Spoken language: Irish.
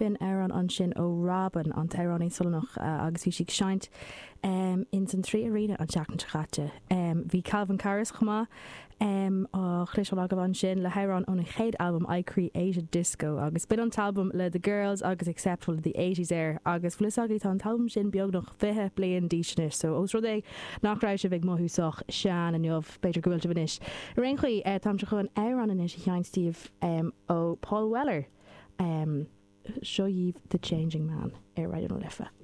B'in amhrán ansin ó Robyn, an t-amhránaí Sualannach, agus bhí sí ag seinnt ins an 3 Arena an tseachtain seo chaite. Bhí Calvin Harris chomh maith á chloisteáil agaibh ansin le hamhrán óna chéad albam I Created Disco agus b'in an t-albam le The Girls agus Acceptable to the Eighties air agus bhfuil fhios agaibh tá an t-albam sin beagnach 20 bliain d'aois anois so ós rud é nach raibh sibh ag mothú sách sean inniu b'fhéidir go bhfuil sibh anois. Ar aon chaoi táimse chun amhrán anois a sheinnt daoibh ó Paul Weller. Seo dhaoibh The Changing Man ar Raidió na Life.